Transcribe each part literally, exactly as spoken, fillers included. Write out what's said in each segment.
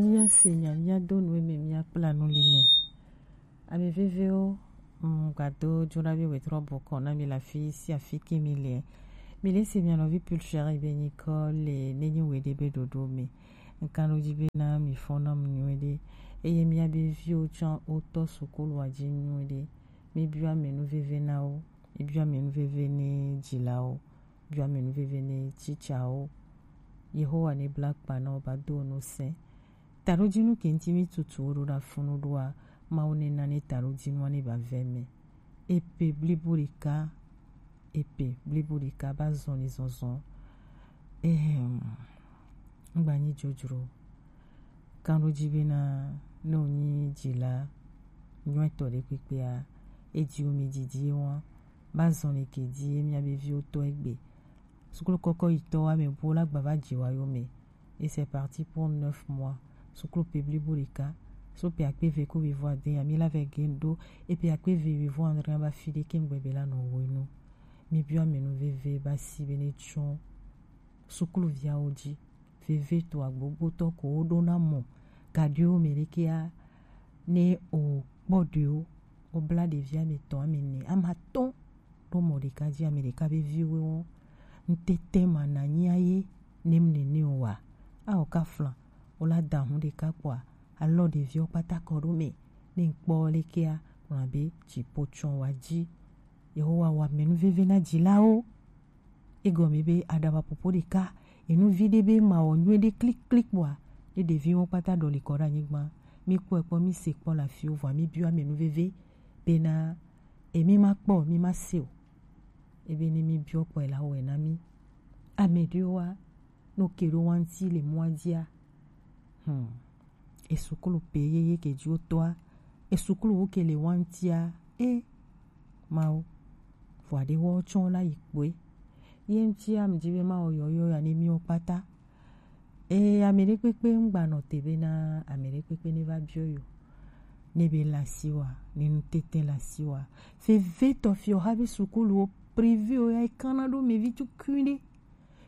Mía se nya, mía do nu eme, mía kpla nu li me. Ame vevewo, mm, gbado jona be wetrɔ bɔkɔ na mi la fi si afi ke mi le. Mi le se mia nɔvi Pulchere be nyikɔ le ne nyi we de be dodo me. Nkan do ji be na mi fɔ na mu nyuie de. Eye mía be viwo tsã wo tɔ sukulu wa ji nyuie de. Mi biɔ ame nu veve na wo. Mi biɔ ame nu veve ne jilawo. Biɔ ame nu veve ne tsitsawo. Yehowa ne bla kpa na wo ba do nu se. Taɖojinu ke ŋuti mí tutu wo ɖo ɖa funu ɖoa, Mawu ne na ne taɖojinua ne ba vɛ mɛ. Epe blibo ɖeka, epe blibo ɖeka ba zɔn ni zɔnzɔn. Ehem, ŋgba nyi dzodzro. Kan ɖo ji bena ne wonyi dzila nyuitɔ ɖe kpekpea, edi wo mi didi ye wa, ba zɔn ni ke di ye mía be viwo tɔ egbe. Sukulu kɔkɔ yi tɔ wa mɛ bo la gba va dzi wa yo mɛ. Et c'est parti pour neuf mois. Sukulu pe blibo ɖeka. So pe akpe ve ko wivo ade ya mi la vɛ gen do. Et pe akpe ve wivo andre ba fi ɖe ke ŋgbe be la nɔ wo nu. Mi biɔ ame nu veve ba si be ne tsɔ sukulu viawo ji. Veve to agbogbo tɔ ko wo ɖo na mɔ. Gaɖiwo mɛ ɖe ke ya ne o kpɔ ɖewo. O bla ɖevi ame tɔn ame ne ama tɔn ɖo mɔ ɖeka ji ame ɖeka be viwo wɔn. Ŋtete ma na nyi aye ne mu nene o wa. A o ka flan o la da hun ɖeka kpɔa alɔ ɖeviwo kpata kɔ ɖo mɛ ne ŋkpɔ lekea kplɔ abe dziƒo tsɔn wa ji. Yehowa wa mɛnu veve na dzilawo. Egɔme be aɖabaƒoƒo ɖeka enu vi ɖe be ma wɔ nyuie ɖe kliklik kpɔa ne ɖeviwo kpata ɖɔli kɔ ɖe anyigba. Mi kpɔe kpɔ mi se kpɔ le afiwo vɔa mi biɔ ame nu veve bena emi ma kpɔ mi ma se o. Ebe ne mi biɔ kpɔe la wɔe na mi. Ame ɖewoa no ke ɖo wa ŋuti le mɔa dzia. Hmm. Esukulu pe yeye ke dzi wotɔa, esukulu wo ke le wa ŋutia, e Mawu, vɔ aɖe wɔ tsɔ la yi kpoe. Ye ŋutia mi dzi be Mawu yɔyɔ ya ne miwo kpata. E ame ɖe kpekpe ŋgba nɔ te be na ame ɖe kpekpe ne va biɔ yo. Ne be la si wa, ne nu tete la si wa. Veve tɔ fi o ha be sukulu wo privé o ya e kana ɖo mɛ vi tukui ɖe.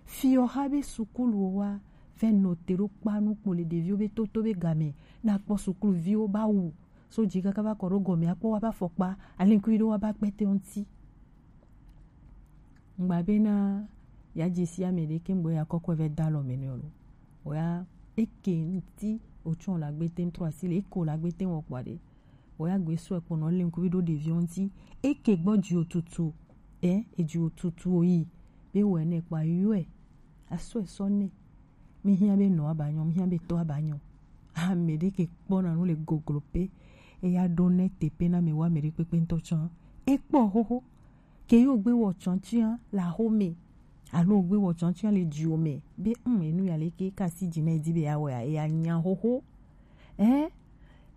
Fi o ha be sukulu wo wa vɛ nɔ te ɖo kpa nu kpo le ɖeviwo be toto be game na kpɔ sukulu viwo ba wu. So dzi kaka va kɔ ɖo gɔme akpɔ wa ba fɔkpa alinkui ɖo wa ba kpɛtɛ ŋuti. Ŋgba be na ya dzesi ame ɖe ke ŋgbe ya kɔkɔe vɛ da lɔ me ne o lo. O ya eke ŋuti o tsɔ la gbe te ŋtrɔ asi le eke o la gbe te wɔ kpɔ aɖe. O ya gbe sɔ ekpɔ nɔ le ŋkuvi ɖo ɖeviwo ŋuti. Eke gbɔ dzi o tutu. E edzi o tutu o yi. Be wɔ ne kpa yɔe. Asɔ esɔ ne. Mi hiã be nɔ aba nyɔ, mi hiã be tɔ aba nyɔ. Ame ɖe ke kpɔna nu le goglo pe. Eya ɖo ne tepe na me wa ame ɖe kpekpe ŋtɔ tsã. Ekpɔ xoxo. Ke yo gbe wɔ tsɔntsia la xome. Alo gbe wɔ tsɔntsia le dziwo me. Be ŋ enu ya le ke kasi dzi na edi be ya wɔ ya, eya nya xoxo. Eh?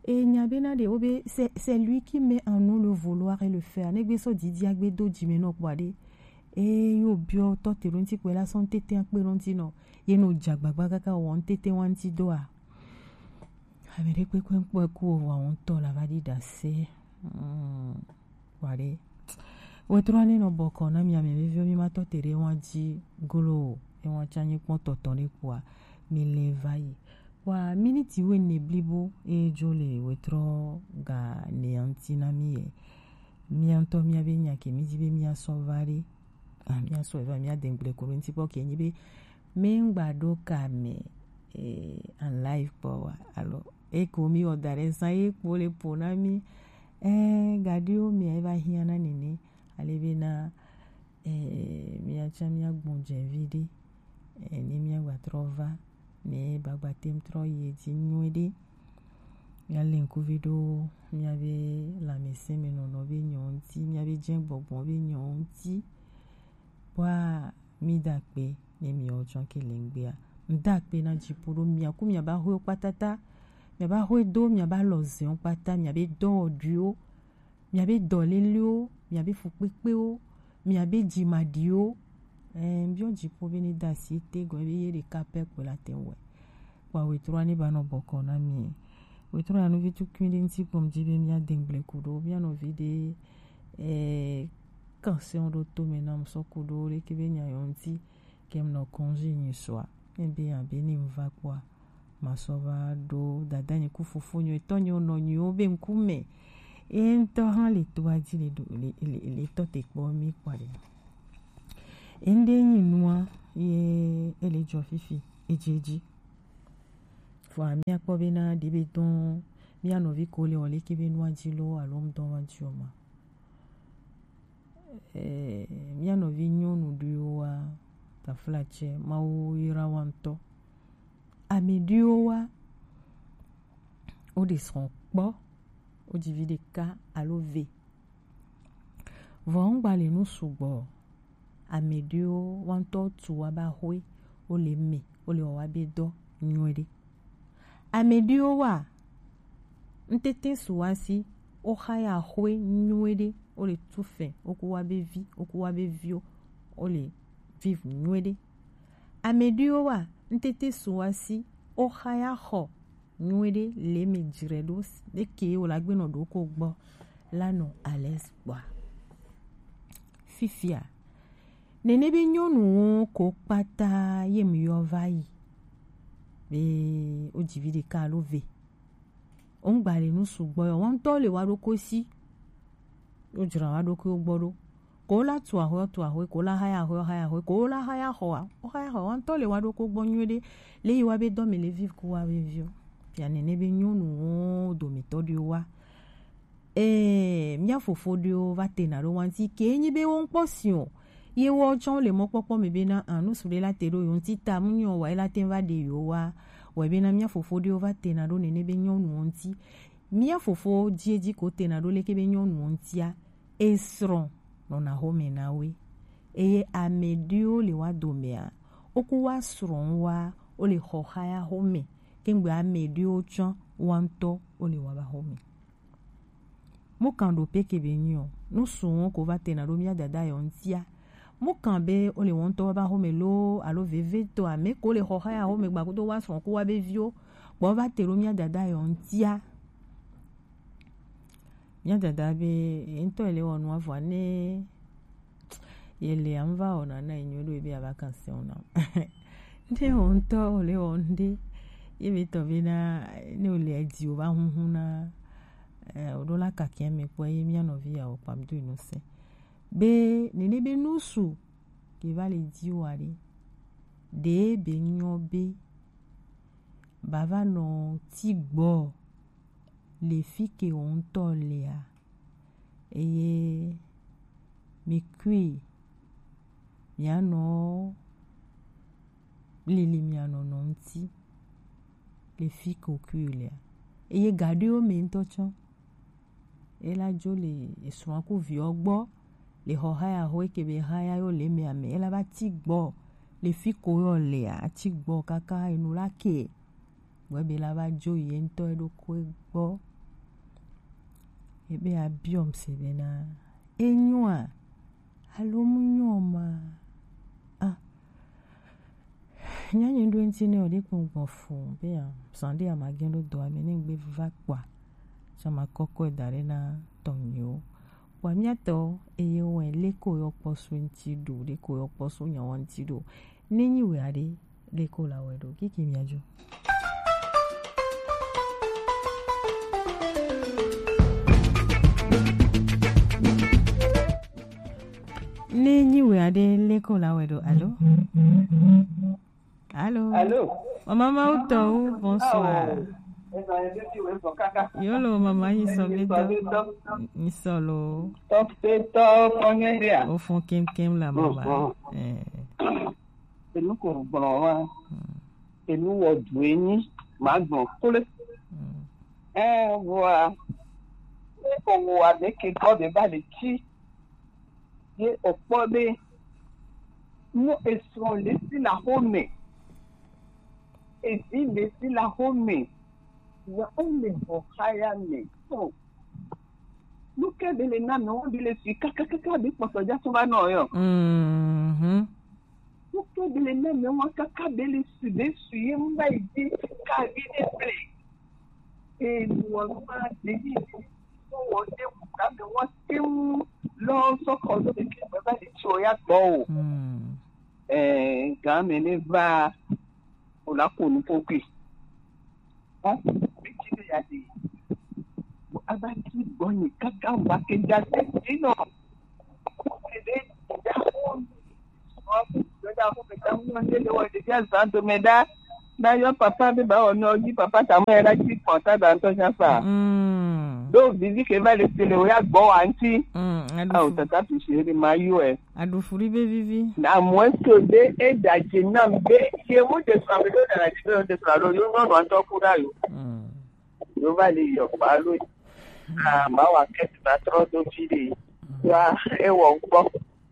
E nya be na ɖe wo be c'est c'est lui qui met en nous le vouloir et le faire. Ne gbe sɔ didi agbe do dzi me nɔ kpɔ aɖe. E yo biɔ tɔ te ɖo ŋuti kpɛ la sɔ ŋtete akpe ɖo ŋuti nɔ. Ye no dza gbagba kaka wɔ ŋtete wa ŋuti doa. Ame ɖe kpekpe ŋkpɔe ku o vɔ ŋutɔ la va ɖi ɖase. Mm. Wa ɖe. Wetrɔ ne nɔ bɔkɔ na mi ame veviwo mi ma tɔ te ɖe wa dzi glo o. E wa tsa nyi kpɔ tɔtɔ ɖe kpoa mi le va yi. Wa miniti wene blibo e dzo le wetrɔ ga ne ŋuti na mi ye. Mia ŋutɔ mia be nya ke mi di be mia sɔ va ɖe. Ah, mia sɔ va mia de ŋgble ko ɖo ŋuti kpɔ ke nyi be mi ŋgba ɖo ka me eh, en live kpɔ wa alo eko mi wɔ da ɖe zã ye kpo le po na mi eh, gaɖiwo mia eva hiã na nene ale be na eh, mia tsã mia gbɔn dze vi ɖe eh, ne mia gba trɔ va ne bagba tem trɔ yi edzi nyuie ɖe. Mia le ŋkuvi ɖo mia be lãmesẽ me nɔnɔ be nyɔ ŋuti, mia be dze gbɔgbɔ be nyɔ ŋuti. Kpɔa mi da kpe ne miawo tsɔ ke le ŋgbea. Ŋda kpe na dziƒo ɖo mia ku mia ba xoe kpatata. Mia ba xoe do mia ba lɔ zɛn kpata mia be dɔwɔɖuiwo. Mia be dɔlelewo, mia be fukpekpewo, mia be dzimaɖiwo. Eh, mbiɔ dziƒo be ne da asi te gɔme be ye ɖeka pɛ kpoe la te wɛ. Kpɔ wetrɔ ne ba nɔ bɔkɔ na mi. Wetrɔ ya nu vi tukui ɖe ŋuti kpɔ ŋdi be mia de ŋgble ku ɖo mia nɔvi ɖe eh, kan se ɖo to me na mu sɔ ku ɖo ɖe ke be nya yɔ ŋuti ke mu nɔ congé nyi sɔa. Ne be abe ne mu va kpɔa. ma sɔ va ɖo dada nye ku fofo nye etɔ nye nɔ nye wo be ŋkume. Ye ŋutɔ hã le to adzi le ɖo le le le tɔ te kpɔ mi kpɔ ɖe. Ŋɖe nyi nua ye ele dzɔ fifi edzi edzi. Vɔa míakpɔ bena ɖe be dɔn mía nɔvi ko le wɔ leke be nua dzi lo alo ŋdɔ wa dzi o ma. Eh, mía nɔvi nyɔnu ɖewoa, taflatse, Mawu yra wa ŋutɔ. Ame ɖewoa, wo ɖe srɔ̃ kpɔ, wo dzi vi ɖeka alo ve. Vɔ ŋgba le nu sugbɔ. Ame ɖewo wa ŋutɔ tu wa ba hoe, wo le me, wo le wɔ wa be dɔ nyuie ɖe. Ame ɖewo wa ŋtete su wa si, wo xa ya hoe nyuie ɖe, wo le tu fɛ, wo ku wa be vi, wo ku wa be viwo, wo le viv nyuie ɖe. Ame ɖewo wa ŋtete su wa si, wo xa ya xɔ nyuie ɖe le me dzre ɖo ɖe ke wo la gbe nɔ ɖo ko gbɔ la nɔ alɛs gbɔa. Fifia, nene be nyɔnuwo ko kpata ye mi yɔ va yi be wo dzi vi ɖeka alo ve. Wo ŋgba le nu sugbɔ yɔ, wo ŋutɔ le wa ɖo ko si. Wo dzra wa ɖo ko gbɔ ɖo. Ko la tu ahwe, tu ahwe, ko la haya ahwe, haya ahwe, ko la haya xɔa, o haya xɔa, wa ŋutɔ le wa ɖo ko gbɔ nyuie ɖe. Le yi wa be dɔ mi le viv ku wa be viwo. Fia nene be nyɔnuwo dometɔ ɖewo wa. Ee, mía fofo ɖewo va tena ɖo wa ŋuti ke nyi be wo ŋkpɔ si o. Ye wo tsɔ le mɔkpɔkpɔ me bena, a, nu su ɖe la te ɖo yo ŋuti ta, mu nyɔ wa ye la te va ɖe yo wa. Wa bena mía fofo ɖewo va tena ɖo nene be nyɔnuwo ŋuti. Mía fofo dzi edzi ko tena ɖo leke be nyɔnuwo ŋutia, esrɔ̃ nɔna xome na woe. Eye ame ɖewo le wa domea, wo ku wa srɔ̃ wa, wo le xɔ xaya xome. Kengbe ame ɖewo tsɔ wa ŋutɔ wo le wa ba xome. Mu kan ɖo peke be nyi o. Nu suwo ko va tena ɖo mía dada yɔ ŋutia. Mu kan be wo le wo ŋutɔ wa ba xome lo alo veve to ame ko le xɔ xaya xome gba kudo wa srɔ̃ ku wa be viwo. Kpɔ va te ɖo mía dada yɔ ŋutia. Mía dada be ye ŋutɔ ye le wɔ nua vɔa ne ye le ŋva wɔna na ye nyuie ɖo ye be aba kan se wɔna. Ne wo ŋutɔ wo le wɔ ŋɖe ye be tɔ be na ne wo le dzi wo va huhu na eh, wo ɖo la kakia me kpɔ ye mía nɔvi ya wo kpam do inu se. Be nene be nu su ke va le dzi wa ɖe. Ɖe be nyɔ be ba va nɔ ti gbɔ le fi ke wo ŋutɔ lea, eye mi kui mianɔ lili mianɔ nɔ ŋuti le fi ke wo kui lea. Eye gaɖoewo me ŋutɔ tsɔ, ela dzo le esrɔ̃a ku viɔ gbɔ le xɔ haya xɔ eke be haya yo le me ame ela va ti gbɔ le fi ko yo lea ati gbɔ kaka enu la ke. Gbɔ ebe la va dzo ye ŋutɔ eɖokui gbɔ. Ebe abiɔm se bena enyoa alo mu nyo ma? Ah, nyanye ɖo ŋuti ne wòɖe kpɔn gbɔn fu be a zan ɖe amagẽ ɖo dɔa me ne ŋgbe va kpɔa, tsɔ ma kɔkɔe da ɖe na tɔnyiwo. Kpɔa mía tɔ eye wɔ leko yɔ kpɔ so ŋuti ɖo, leko yɔ kpɔ so nyawo ŋuti ɖo. Ne nyi wɛ aɖe, leko la wɛ ɖo kiki mia dzo. Ne nyi wɛ aɖe, leko la wɛ ɖo. Alo? Alo? Alo? Mama Mawu tɔwo, bonsoir. Yolo, mama, nyi sɔ be dɔ. Nyi sɔ lo. Tɔpetɔ, kɔnyɛ dia. O fun kemkem la, mama. Eh. Enu ko gblɔ wa. Enu wɔ du enyi. Ma gblɔ kple. Eh, vɔa. Ne ko wa de ke kɔ de ba le ti. Ye okpɔ be, nu esrɔ̃ le si le axome, evi le si le axome, ya wole xɔxaya me. Oh. Nu ke be le na me, wo be le si kakakaka be kpɔtɔ dza tso va nɔ yɔ. Mhm. Nu ke be le na me, wa kaka be le si be si ye mu ba yi di ka vi de ble. Eye wɔ nu ma de yi. Wɔ de wu ka me, wɔ te wu lɔ sɔ kɔ do be ke me ba de tso ya gbɔ o. Hmm. Eh, ga me ne va, o la ko nu ko kui. Hein? Bitsi be ya de. Bon, aba ti gbɔ nyi kaka ŋgba ke da se dzi nɔ. Ke be da ko. Bon, da ko be da mo ne le wa de ya za do me da. Na yo papa be ba o no ji papa ta mo ya da ti ko ta da nto nya fa. Mm. Do vivi ke va le se le o ya gbɔ wa nti. Mm. Ah, o tata pi se de ma yo e. Aɖu fli be vivi. Na mue so be e da dzi nam be ye mu de srɔ̃ be do da na dzi be de srɔ̃ alo yo nyɔnu ŋutɔ ku ɖa yo. Mm. Yo va li yɔ kpa lo. Ah, ma wa ke ti va trɔ do fi de. Wa e wɔ kpɔ.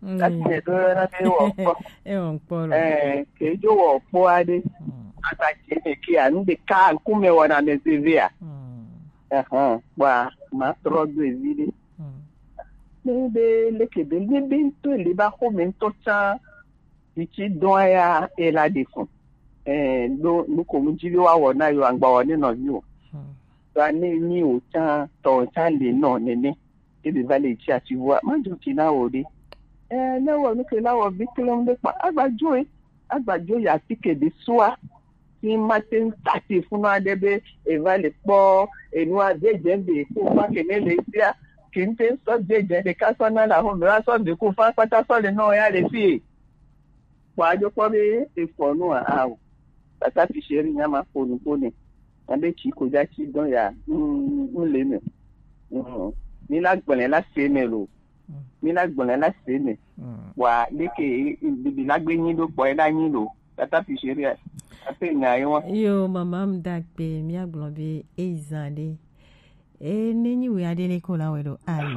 Mm. Kati ne do yɔ na be e wɔ kpɔ. E wɔ kpɔ lo. Eh, ke jo wɔ kpɔ a de. Mm. Ata ke ne ke a nu de ka ku me wɔ na me se ve a. Mm. Eh, eh, wa ma trɔ do e vi de. Mm. Ne be leke be ne be ŋutɔ le ba xɔme ŋutɔ tsã. Titi dɔn ya e la de fun. Eh, do nu ko mu ji be wa wɔ na yo angba wɔ ne nɔvi o. Hmm. Ba ne ni o tsã tɔ tsã le nɔ nene. E be va le tsi ati vua ma jo ki na o de. Eh, ne wɔ nu ke la wɔ vi klem de kpa agba jo e. Agba jo ya ti ke de sua. Ti ma te n ta ti funu aɖe be e va le kpɔ enua dzedze be ko fa ke ne le sia. Ke n te sɔ dzedze ɖeka sɔ na la ho me wa sɔ be ko fa kpata sɔ le nɔ ya le fi. Kpɔ adzo kpɔ be efɔ nu a, ao. Tata fi se ri nya ma ƒo nu ƒo nɛ. Abe tsi ko dza tsi dɔn ya, mm, mm, le me. Mm. Mi la gblẽ la se me lo. Mm. Mi la gblẽ la se me. Mm. Wa leke bibi la gbe nyi ɖo kpɔ la nyi lo. Tata fi se ri a. Ape nya ye wa. Yo, mama m da gbe, mi agblɔ be eyi zã ɖe. E ne nyi wui aɖe ne ko la wɛ ɖo. Alo.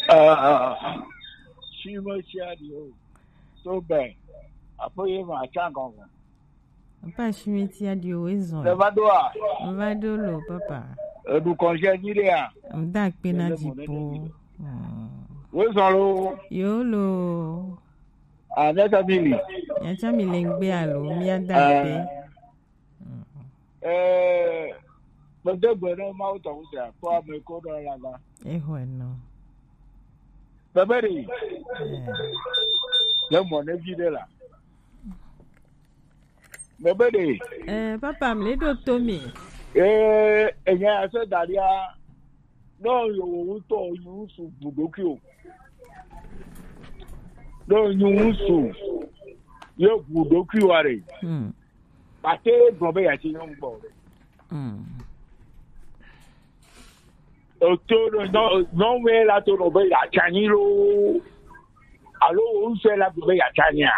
Ah, ah, ah. Shime tia di o. So bɛ. Aƒe ye ma tsa gɔngɔn. Papa, shime tia di o, ezɔn. Le va do a? Va do lo, papa. Eɖu kɔnjɛ nyi ɖe a? Mda kpe na. Ele mo ne dzipo. Ne nyi ɖe. Hmm. Wo zɔn lo. Yo lo. Ah, ne ta mi li. Ya tsa mi le ngbe alo, mi ada kpe. Ah. Mm. Eh, mede gbe ɖe Mawu tɔ ŋuti a, kpɔ ame ko ɖo la va. Exɔe nɔ. Bebe ɖe. Eh. Le mɔ ne vi ɖe la. Bebe ɖe. Eh, papa, mi le ɖo to mi. Eh, enya ya se dalia. No yo wo ŋutɔ yi ŋusu bu ɖokui o. No yi ŋusu ye bu ɖokui wa ɖe. Hmm. Pate gblɔ be yeatsi nyɔnu gbɔ o. Mm. Oto ɖo nyɔ-, nyɔnu ye la to nɔ be yeatsi anyi loo. Alo wo ŋutɔ la gblɔ be yeatsi anyia.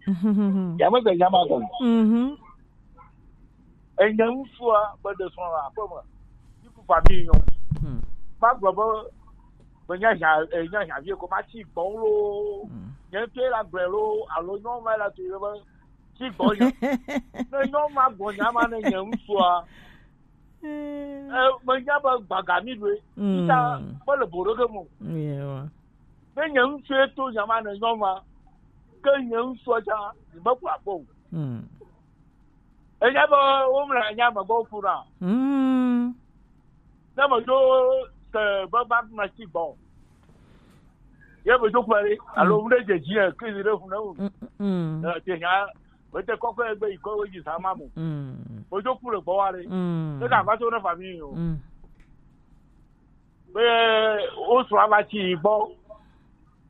Mhm. Yame gbe nya ma gɔme. Mhm. Enye ŋutsua be ɖe srɔ̃ le aƒe me. Yi ku famille nyɔ. Hmm. Magblɔ be menye nya, eh, nye nya vie ko matsi gbɔn loo. Hmm. Nye ŋutɔe la gblɔe loo, alo nyɔnu ma la to be tsi gbɔnye. Ne nyɔnu ma gbɔ nya ma ne nye ŋutsua, eh, menya be gbaga mi ɖoe. Mm. Ita mele bo ɖeke mo. Yeah. Ne nye ŋutsue to nya ma ne nyɔnu ma, ke nye ŋutsua tsã, ni meku akpɔ o. Mm. Enya be womle nya me gbɔ ku na. Mm. Ne meɖo te be va me tsi gbɔ. Ye meɖo kpe ɖi, alo ŋɖe dze dzi ɛ, ke yi ɖe fu ne wu. Mm, mm, mm. Eh, te nya, mete kɔkɔ egbe yi kɔ wo dzi sa ma mo. Mm. Meɖo ku le gbɔ wa ɖe. Mm. Ne ka va to ne famille o. Mm. Be wo srɔ̃ va tsi gbɔ.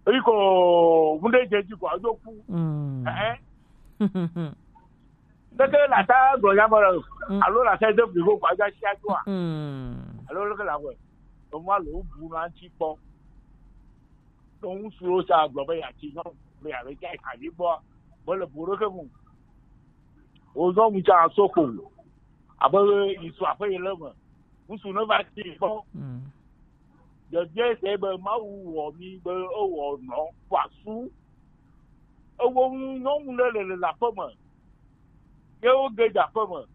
Eyi ko ŋɖe dze dzi ko adzo ku. Mm. Eh, eh. Tete la ta gblɔ nya me le. Mm. Alo la ta de blibo ko adzo asi adzo a. Mm. Alo leke la wɛ. Emu alo bu na ŋuti kpɔ. Ɖo ŋutsuwo sa gblɔ be yeatsi nyɔnu, be yeaɖe tsa yi kavi gbɔa, mele bu ɖeke ŋu. Wozɔ ŋutsa so ko. Abe yi su aƒe yi le me. Ŋutsu ne va tsi gbɔ. Mm. Ɖevia se be Mawu wɔ mi be ewɔ nɔ ƒo asu. Ewo ŋu nyɔnu ɖe le, le, le aƒe me. Ye woge dze aƒe me.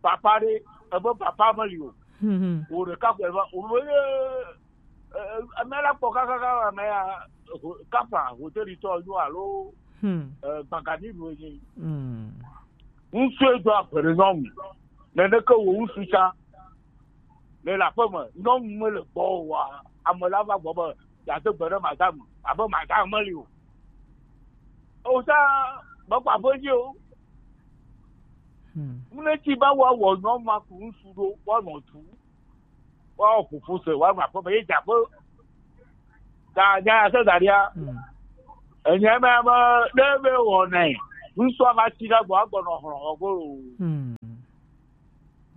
Papa ɖe, ebe papa meli o. Mhm. Wo ɖeka ko eva, wo be, eh, eh, ame la kpɔ kakaka, ame ya, ho-, kafa, hoteli tɔ nyo alo, hmm, eh, gbagani ɖo enyi. Hmm. Ŋutsu do agbe ɖe nyɔnu. Neneke wo ŋutsu tsã. Le, le aƒe me, nyɔnu mele gbɔ o wa, ame la va gbɔ be yeade gbe ɖe madame, abe madame meli o. O ta, mekpɔ aƒe dzi o. Mune ti ba wa wɔ nyɔ ma ku ŋsu ɖo wa nɔ tu wa wɔ ƒoƒo se wa ma kpɔ be ye dza ƒe. Ta nya ya se da ɖia. Enye me me ɖe be wɔ nɛ. Ŋsu ava ti ɖe gbɔ agbɔ nɔ hlɔ ɔgo lo.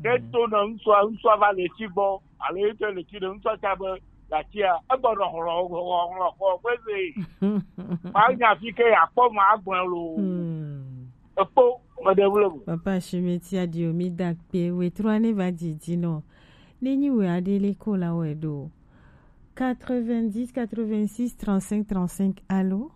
Ke to nɔ ŋsu ŋsu ava le ti gbɔ alo ye te le ti ɖe ŋsu ta be la tia egbɔ nɔ hlɔ hlɔ hlɔ hlɔ ƒe ze. Ma nya fi ke ya kpɔ ma agbɔ lo. Ekpo me ɖe wle mo. Papa Shimeti adio mi da kpe we trois ne va didi no. Ne nyi we adele ko la we do. Quatre-vingt-dix, quatre-vingt-six, trente-cinq, trente-cinq, allô?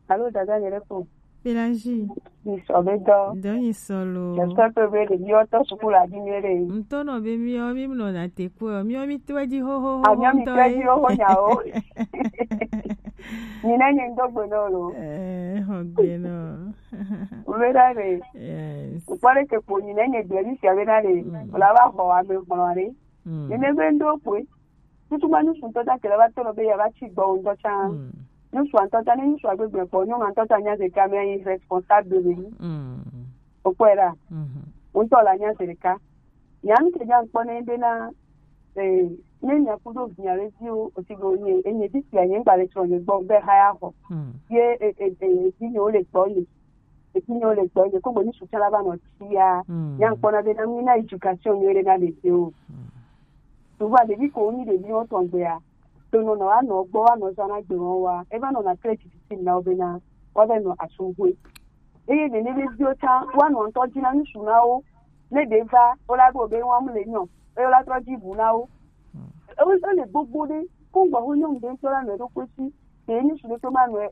Allô, dada, je réponds. Pélagie. Ni sɔ be dɔ. Dɔ ni sɔ lo. J'espère que be ɖeviwo tɔ suku la di mi ɖe. Ŋutɔ nɔ be miɔ mi nɔ na te kpɔ miɔ mi tɔ di hoho ho. Amiɔ mi tɔ di hoho nya o. Ni ne nyi ŋdɔ gbe nɔ lo. Eh, ho gbe nɔ. Ube da ɖe. Yes. Kpɔ ɖe ke kpo ni ne nyi gbe ni sia be da ɖe. Wala va xɔ ame kplɔ ɖe. Ni ne be ŋdɔ kpɔe. Tutu ma ŋsu ŋutɔ ta kele va tɔ nɔ be ya va tsi gbɔ ŋutɔ tsã. Ŋsu ŋutɔ ta ne ŋsu agbe gbe kpɔ nyɔnu ŋutɔ ta nya zeka me yi responsable be ni. Okpɔe ɖa. Ŋutɔ la nya zeka. Nya nu ke nya kpɔ ne be na eh ne nya kudo via le viwo osi go nye enye bi sia nye ngba le tsɔ nye gbɔ be ha ya xɔ. Ye eh eh eh bi nye wo le gbɔ nye. Eti nyo le gbɔ nye ko gbɔ ni sutsa la va nɔ tia. Nya kpɔ na be na mi na éducation nyo le na le te o. Souvent ɖevi ko ni ɖevi wo tɔn gbea. To nɔ nɔ wa nɔ gbɔ wa nɔ zã na gbe wɔn wa. E va nɔ na kle titi na wo be na wa be nɔ asungwe. Eye nene be viwo tsã wa nɔ ŋutɔ dzi na ŋsu na wo. Ne ɖe va wo la ɖo be wɔm le nyɔ eye wo la trɔ dzi bu na wo. Ewo le gbogbo ɖe ko gbɔ ho nyɔnu ɖe ŋutɔ la nɔ ɖo kpe si ke ŋsu ɖe to ma nɔ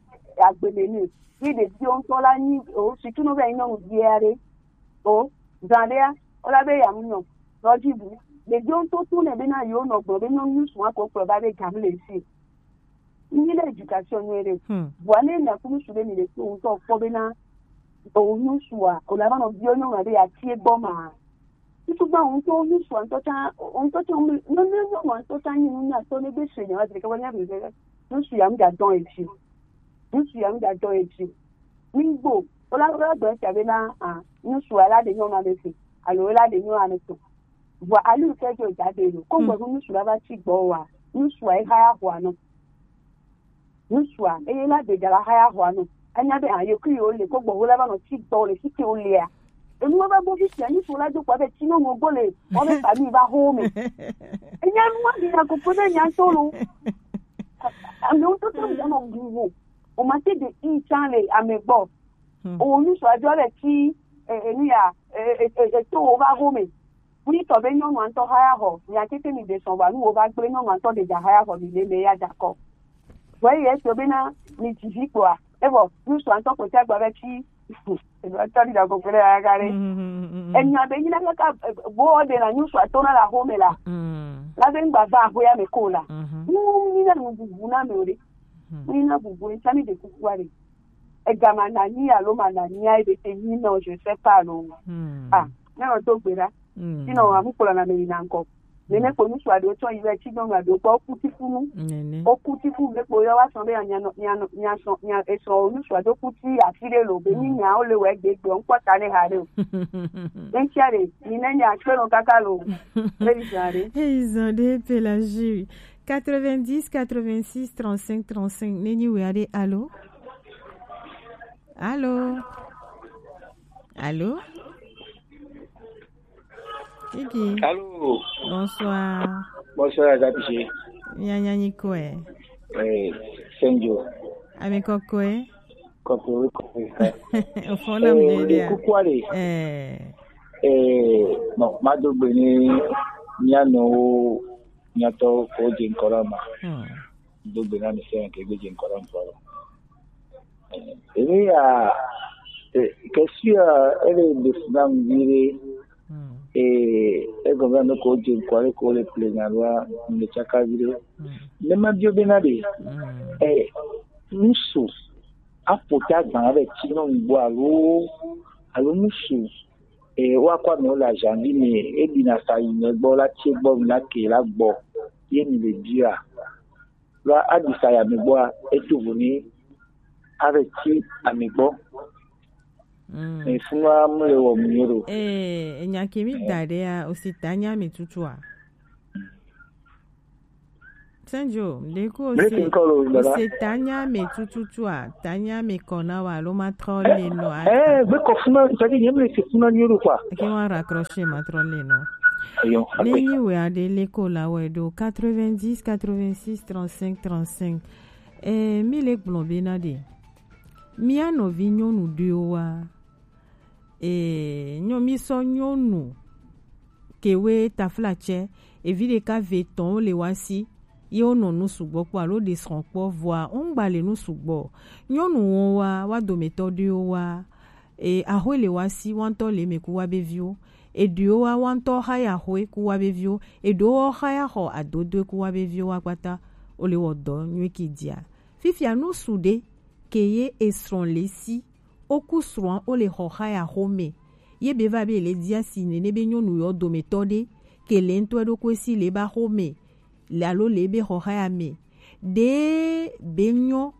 agbe le ne. Ye ɖeviwo ŋutɔ la nyi o sutu no be nyɔnu via ɖe o zã ɖea o la be ya mu nyɔ nɔ dzi bu ɖeviwo ŋutɔ to ne be na yewo nɔ gblɔ be nyɔnu ŋsu wa ko kplɔ va be gam le si. Nyi le éducation nyuie ɖe. Vɔa ne nya ku ŋsu ɖe mi le kpe ŋutɔ kpɔ be na o ŋsu a o la va nɔ vio nyɔnu ɖe ya tie gbɔ ma. Tutu gba ŋutɔ ŋutsua ŋutɔ tsã ŋutɔ tsã ŋu ne ne nyɔnua ŋutɔ tsã nyi nu nyatɔ ne be se nyawa dzeke wanya be be ŋutsu ya ŋdza dɔn edzi ŋutsu ya ŋdza dɔn edzi nigbo wola wola gbe sia be na a ŋutsua la de nyɔnua me se alo la de nyɔnua me tɔ vɔa ali ŋutɔ dzo dza de lo ko gbɔ ŋutsu la va tsi gbɔ wa ŋutsua yi haya xɔa nɔ. Ŋutsua eye la de dza la haya xɔa nɔ. Enya be a yeku yewo le ko gbɔ wo la va nɔ tsi gbɔ le tsi ke wo lea. Enu va gbɔ fisia ŋutsu la do kɔ be tsi nɔ ŋɔ gbɔ le wɔ be fami va ho me. Enya nu wa bi na ko ko be nya so lo. Ame wo toto ya nɔ bu wo. O ma te de in chan le ame gbɔ. O ŋutsua dzo le tsi enu ya e e e to wo va ho me. Ŋutɔ be nyɔnua ŋutɔ haya xɔ mia tete mi de sɔn va nu wo va gble nyɔnua ŋutɔ de dza haya xɔ mi le me ya dza kɔ. Vɔ eyi etso bena mi dzi vi kpoa evɔ ŋutsua ŋutɔ kpɔtɔ agba be tsi eɖo tɔ ɖi ɖago kple ya ga ɖe. Enya be nyina kaka bo de na ŋutsua to na la xɔ me la la be ŋgba va axɔya me ko la. Ŋu nyina nu bubu na me o ɖe. Ŋu nyina bubu ŋutsa mi de kukua ɖe. Ega ma na nyi alo ma na nyi a ebe te nyi nɔ je sais pas lo. Ah ne o do gbe ɖa. Sinɔ amu kplɔ na me yi na ŋkɔ. Nene kpo ŋutsu aɖewo tsɔ yi vɛ tsi nyɔnu aɖewo gbɔ woku tifu nu. Woku tifu be kpo yɔ wa sɔ be nya nya nya sɔ nya esɔ ŋutsu aɖewo ku ti afi ɖe lo be mi nya wo le wɛ gbe gbe ŋkpɔ ta ne ha ɖe o. Ŋtsia ɖe mi ne nya kpe nɔ kaka lo. Be yi zan ɖe. Hey zan ɖe pe la jui. Quatre-vingt-dix, quatre-vingt-six, trente-cinq, trente-cinq. Nenyi wɛ aɖe alo. Allô? Allô? Kiki. Allô? Bonsoir. Bonsoir, Agapiche. Nyanyanyi kwe. Eh, Senjo. Ami kokwe. Kokwe, kokwe. Ofona mdede. Kukwale. Eh. Eh, bon, madogbe ni nyano nyato ko je nkora ma. Hmm. Do gbe na mi sɛn ke gbeje nkɔla nkɔla. Ebe ya ke si a ele de sina ngire e e gɔmɛ no ko je nkɔla ko le ple na lwa ne chaka vire. Ne ma bio be na de e nusu apota gba be ti no ngbo alo alo nusu e wa kwa mi o la janvi mi e bi na sa yi ne gbɔ la tie gbɔ mi la ke la gbɔ ye mi le bia. Vɔ aɖi sa yi ame gbɔa, eto vo ni ave tsi ame gbɔ. Mm. Efunua mu le wɔ mu ye ɖo. Eh, enya ke mi da ɖe ya, o si ta nya mi tutua. Senjo, ɖeko o si, o si ta nya mi tututua, ta nya mi kɔ na wa, lo ma trɔ le nɔ a. Eh, be kɔ funa, c'est-à-dire, nyɛ mi le se funa nyuie ɖo quoi. Ke wa raccrocher ma trɔ le nɔ. Ayo, ne akpe. Nyi we aɖe le ko la wɛ ɖo quatre-vingt-dix, quatre-vingt-six, trente-cinq, trente-cinq. Eh, mi le gblɔ be na ɖe. Mía nɔvi nyɔnu ɖewo wa. Ee, nyɔ-, mi sɔ nyɔnu kewe taflatsɛ, evi ɖeka ve tɔn wo le wa si, ye wo nɔ nu sugbɔ kpɔ alo ɖe srɔ̃ kpɔ, vɔa wo ŋgba le nu sugbɔ. Nyɔnu wɔn wa, wa dometɔ ɖewo wa, e, axwe le wa si, wa ŋutɔ le eme ku wa be viwo. Eɖewo wa, wa ŋutɔ xa ya axwe ku wa be viwo. Eɖewo wa xa ya xɔ adodoe ku wa be viwo wa kpata, wo le wɔ dɔ nyuie ki dia. Fifia nu su ɖe ke ye esrɔ̃ le si, wo ku srɔ̃a wo le xɔxaya xome. Ye be va be le dia si nene be nyɔnu yɔ dometɔ ɖe ke le ŋutɔ ɖokui si le ba xome le alo le be xɔxaya me. Ɖe be nyɔ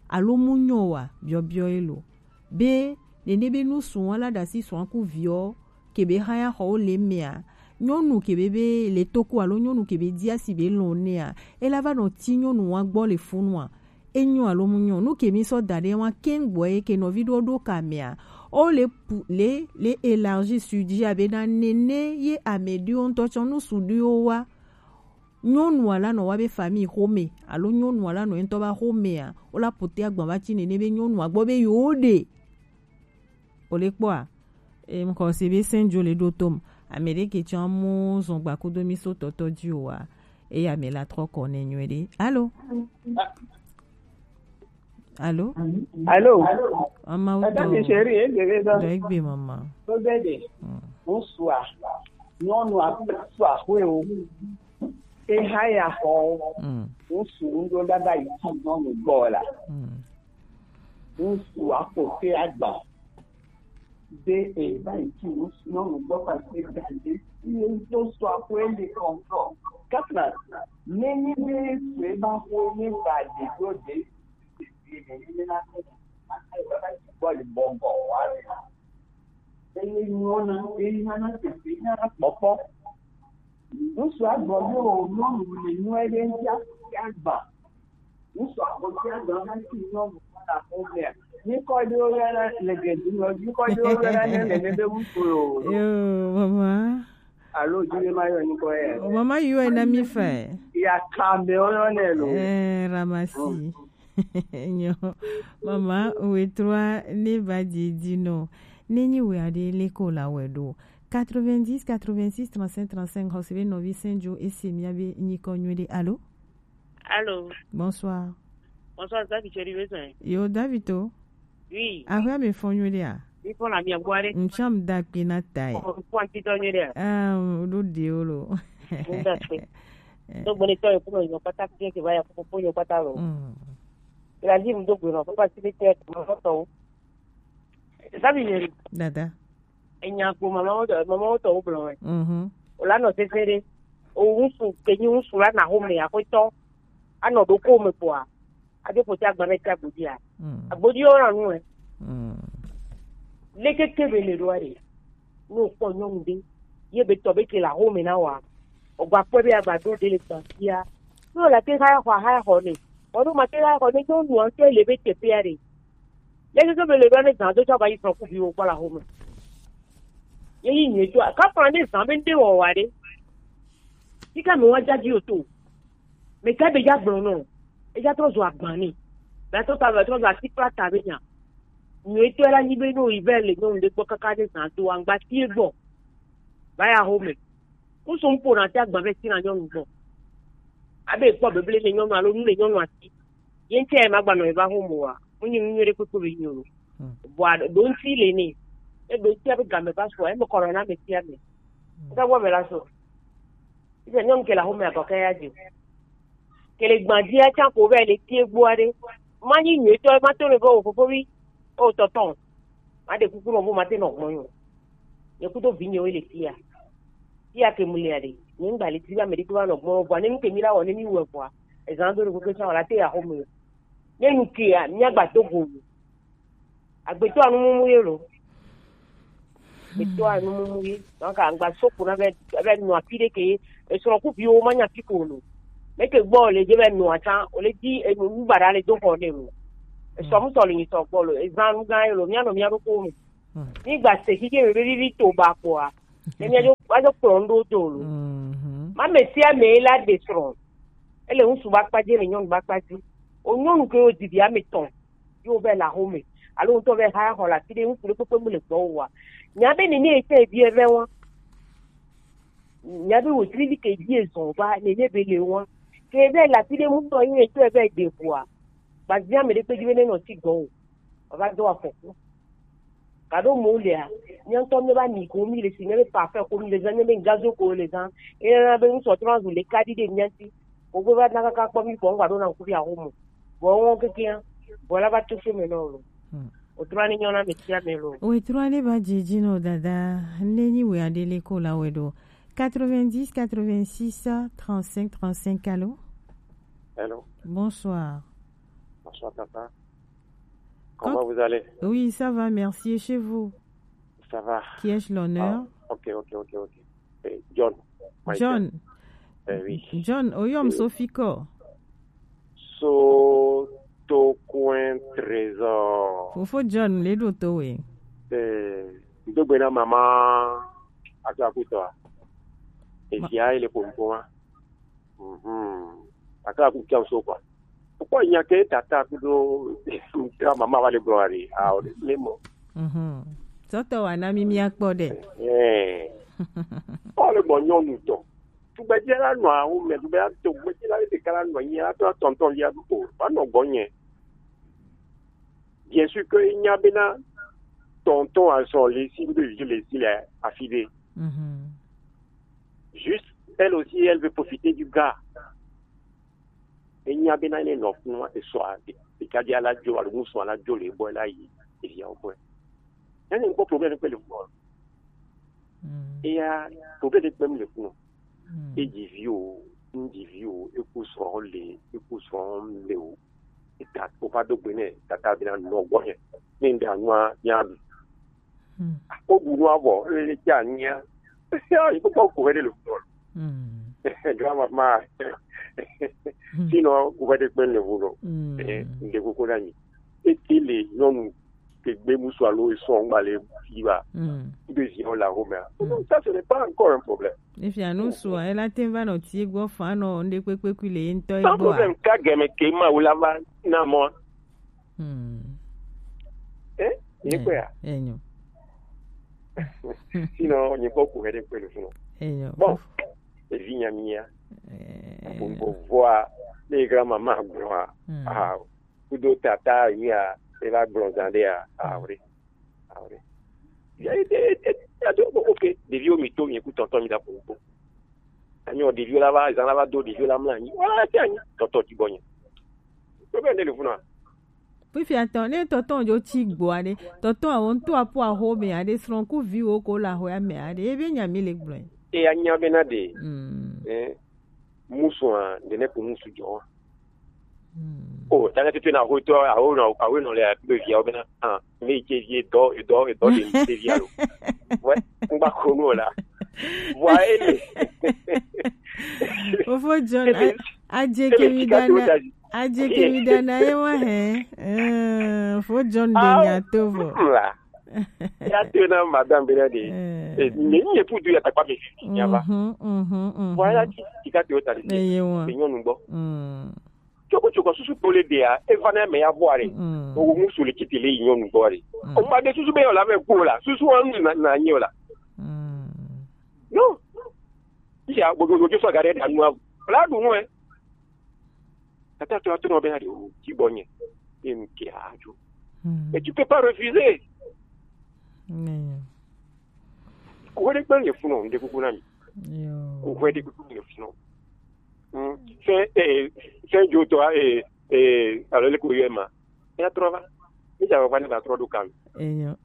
alo mu nyɔ wa biɔbiɔ ye lo. Be nene be nu srɔ̃a la ɖasi srɔ̃a ku viɔ ke be xaya xɔ wo le mea. Nyɔnu ke be be le toku alo nyɔnu ke be dia si be lɔn nea. E la va nɔ ti nyɔnu wa gbɔ le funua. Enyo alo mu nyo, nu ke mi sɔ da ɖe wa kengboe ke nɔvi ɖo ɖo ka mea. O le pu-, le, le élargi sujet abe na nene ye ame ɖewo ŋutɔ tsɔ nu su ɖewo wa. Nyɔnu ala nɔ wa be famille xome, alo nyɔnu ala nɔ ŋutɔ ba xomea, o la pote agban va ti nene be nyɔnu agbɔ be yo ɖe. O le kpɔa, e, ŋkɔ se be sɛn jo le ɖo tom. Ame ɖe ke tsɔ mu zɔn gba kudo mi so tɔtɔ ji o wa. Eya me la trɔ kɔ ne nyuie ɖe. Alo? Alo? Alo? Mama wo Eda tɔ. Mi chérie, e de be do. Dɔ egbe mama. To be de. Mm. Ŋutsua, nyɔnua kple sua xwe o. E hã ya xɔ o. Mm. Ŋutsu ŋɖo ɖaɖa yi ti nyɔnu gbɔ la. Mm. Ŋutsu akpɔ te agba. Be e va yi ti ŋutsu nyɔnu gbɔ kpakple gã ɖe. Ye do sua xwe le kɔntɔ. Kafna, ne nyi be sue ba xo ne va de do de. Gbɔ le bɔbɔ wa le. Eye nyɔna, eye nyɔna tete nyɔna kpɔkpɔ. Ŋutsu agbɔ be o nyɔnu le nyuie ɖe ŋutia, ya gba. Ŋutsu agbɔ tia gba na ti nyɔnu na ko mea. Nyikɔ ɖewo yɔna le gedu me, nyikɔ ɖewo yɔna ne le ne be ŋutsu lo. Yo, mama. Alo, dzi be ma yɔ nyikɔ ya. O mama yɔ na mi fa. Ya ka me o yɔ ne lo. Eh, Ramasi. Mm. Nyo. Mama, wetrua ne va didi no. Ne nyi we aɖe le ko la wɛ ɖo. Quatre-vingt-dix, quatre-vingt-six, trente-cinq, trente-cinq, xɔ se be nɔvi sɛn jo ese mia be nyikɔ nyuie ɖe. Alo? Allô. Bonsoir. Bonsoir, David, tu es besoin? Yo, David, to? Oui. Ahwe, mi fɔ nyuie ɖe a? Mi fɔ na mi agbo aɖe. Ŋtsam da kpi na ta yi. Oh, fɔ anti tɔ nyuie ɖe a? Ah, o ɖo de o lo. Ŋda kpe. Eh. Do gbɔne tɔ ye kuma yo pata ke ke va ya ko ko yo pata lo. Mm. La vie mu do gbɔne, papa si be te mo to. David, dada. Enya kpo mamawo tɔ, mamawo tɔ wo gblɔ wɛ. Mhm. O la nɔ sese ɖe. O ŋutsu ke nyi ŋutsu la na xɔme aƒetɔ. Anɔ ɖokome kpoa. Ade ƒote agba ne te agbodia. Mm. Agbodi wo na nu ɛ. Mm. Leke ke be le ɖoa ɖe. Ne o kpɔ nyɔnu ɖe. Ye be tɔ be ke la xɔme na wa. O gba kpɔe be agba do de le gba sia. Ne o la te ha xɔ ha xɔ ne. O ɖo ma te ha xɔ ne nyɔnu ŋutɔ le be teƒea ɖe. Leke ke be le ɖoa ne zã do tsɔ va yi srɔ̃ ku viwo kpɔ la xɔme. Ye yi nyuie tso. Kafla ne zã be ŋɖe wɔwɔ aɖe. Yi ka me wa dzadzi o to. Me ka be ya gblɔ nɔ. Eya trɔ zɔ agba ni. Be trɔ ta, be trɔ zɔ ati kpla ta be nya. Nyuie tɔ la nyi be no yi be le nyɔnu ɖe gbɔ kaka ne zã do angba tie gbɔ. Va ya xɔme. Kusu ŋpo na te agba be tina nyɔnu gbɔ. Abe kpɔ bebele le nyɔnu alo nu le nyɔnu asi. Ye ŋutɔ ye magbanɔ ye va xɔme wa. Mu nyi nu nyuie ɖe kpekpe be nyi o. Hmm. Vɔa ɖo ŋuti le nɛ. Eɖo ŋuti abe game va sɔ, eme kɔ nɔ na ame sia ame. Hmm. Ebe wɔ me la sɔ. Ebe nyɔnu ke le axome agɔ ke ya dzi. Ke le gbadzia tsã ko vɛ le tie gbɔ aɖe. Ma nyi nyuietɔ, ma to le be o fofovi, o tɔtɔ. Ma ɖe kuku nɔ bo ma te nɔ gbɔ nyo. Nye kudo vinyewo le fia. Fia ke mu lia ɖe. Nye ŋgba le ti be ame ɖe kpe va nɔ gbɔ nyo vɔa. Ne nu ke mi la wɔ, ne mi wɔ vɔa. Ezã do ɖe kuku tsã wɔ la te ya axome. Ne nu kea, mía gba do go. Agbetɔ anumumu ye lo. Eto anu mumu ye. Donc angba soko na be be no afi de ke esro ku bi o ma nya fi ko no. Me ke gbo le je be no ata o le di enu mu bara le do ho ne mu. Eso mu so le ni so gbo lo. Ezan nu ga lo mi ano mi aro ko mi. Ni gba se ki ke be bi to ba ko a. E mi ajo ajo ko ndo do lo. Ma me si a me la de sro. Ele un su ba pa je le nyon ba pa ji. O nyon ke o di bi a me ton. Yo be la home. Alo un to be ha ho la ti de un su le popo mu le gbo wa. Nya be ni ni e te bi e be wa. Nya be wo tri bi ke bi e zon ba ni ni be le wa. Ke be la ti de mu to yin e to e be de bua. Ba zia me de pe ji be ne no ti gbo. Ba do afo. Kado mo le a. Nya to me ba ni ko mi le si me be pa fe ko mi le zan me be ngazo ko le zan. E na be un so trans le ka di de nya ti. Ko gbe ba na ka ka kpo mi ko ngba do na ku bi a home. Bo won keke a. Bo la ba to se me no lo. O trani nyona me tia me lo. O trani ba jiji no dada. Neni we adele ko la we do. Quatre-vingt-dix, quatre-vingt-six, trente-cinq, trente-cinq, allô? Allô? Bonsoir. Bonsoir, papa. Comment vous allez? Oui, ça va, merci. Et chez vous? Ça va. Qui ai-je l'honneur? Ah, ok, ok, ok, ok. Eh, John. Moi, John. Eh, oui. John, oyom Sophie ko. So to coin trésor. Fofo John, le do to we. Eh, ndo gbe na mama aka kuto. E Ma- dia ile pompoma. Mhm. Aka ku kiam so kwa. Ko nya ke tata ku do ka mama wale glory. Ah, o le mo. Mhm. So to wa na mi mi akpo de. Eh. O le mo nyonu to. Tugbedze la nɔ awu me, tugbedze la, tugbedze la ɖeka la nɔ anyi la tɔ tɔntɔn lia o, va nɔ gbɔnye. Bien sûr que nya bena tɔntɔn azɔ le si, ŋdo vi le si le afi ɖe. Mhm. Juste, elle aussi, elle veut profiter du gars. Enya bena ne nɔ kunua esɔa, ɖekadze la dzo alo ŋusua la dzo le bɔ la yi, evia wo bɔe. Ene ŋkpɔ problème kpe le kunua. Mm. Eya, problème ɖe kpem le kunɔ. Mm. Edzi vi o, ŋdzi vi o, eku srɔ̃ le, eku srɔ̃ le o. Eta o va do gbe nɛ, tata bena nɔ gbɔnye. Ne ŋɖe anua, nya ɖu. Hmm. Ko bu nua vɔ, ele tsi anyia. Yi kpɔkpɔ ko hɛ ɖe le ŋgɔ. Hmm. Drama ma. Hmm. Sinon, ko hɛ ɖe kpe le ŋgɔ. Hmm. Eh, ŋde koko na mi. Ete le nyɔnu ke gbe musu alo esɔ ŋgba le fi ba. Hmm. Ŋde zi o la home a. Hmm. Ça, ce n'est pas encore un problème. Efia nu sua, ela te va nɔ ti gbɔ fa nɔ ŋde kpekpe kui le ye ŋtɔ ye gbɔ a. Sans problème, ka gɛmɛ ke ma wo la va na mɔ. Hmm. Eh? Ye kwe ya? Enyo. Sinon, nye kpɔ ku hede kwe le funu. Enyo. Bon, evi nya mia. Eh. Bon, bon, voa, les grands mamans, gloire. Hmm. Ah, kudo tata, ya, ela gblɔ zan ɖe ya. Ah, oui. Ah, oui. Ya, ya, ya, ya, do, bon, ok. Ɖeviwo mi to, mi ku tɔntɔn mi da kpo kpo. Anyo, ɖeviwo la va, zan la va do, ɖeviwo la mla anyi. Wala, ti anyi. Tɔntɔn ti gbɔnye. Problème ɖe le funu a? Fifia tɔ, ne tɔntɔn jo ti gbɔ aɖe, tɔntɔn awo ŋutɔ aƒo aho me aɖe, srɔ̃ ku viwo ko le ahoa me aɖe, ebe nya mi le gblɔe. E anya bena ɖe, mm, eh, musu a, ɖe ne ko musu jɔ. Mm. O, tana tete na ho tɔ, aho nɔ, aho nɔ le be via bena, ah, me ke vie dɔ, dɔ, dɔ de me via lo. Ouais, ngba ko no la. Wa ele. Ofo John, a- Adze ke mi dana, adze ke mi dana ye wa hɛ. Eh, fo John de nya to vɔ. Ya to na madame bena de. Eh. Eh, ne ni epu du ya takpa mi fi nya ba. Mhm, mhm, mhm. Voilà ti ti ka to ta de. Eye wa. Be nyɔnu gbɔ. Mm. Tsoko tsoko susu to le de a, e va na me ya vɔ are. Mm. O wo musu le kiti le nyɔnu gbɔ are. Mm. O ma de susu be yo la be ko la. Susu wa na na nyi o la. Mm. Non. Iya, gbogbo ojú sọ̀gá rẹ̀ dànù wa. Ọ̀la dùn ún ẹ. Tata tó tó náà bẹ́ẹ̀ adé o, kí bọ̀ yẹn. Bí mi kì í àjò. Hmm. Et tu peux pas refuser. Nìyẹn. Kò wẹ́n dé pé yẹn fún ọ, ǹdẹ́ kúkú náà mi. Yóò. Kò wẹ́n dé pé yẹn fún ọ. Hmm. Fẹ́, eh, fẹ́ jo tọ́, eh, eh, alors, le courrier ma. Ya trɔ va. Mi ja va ne va trɔ do kan. Enyo.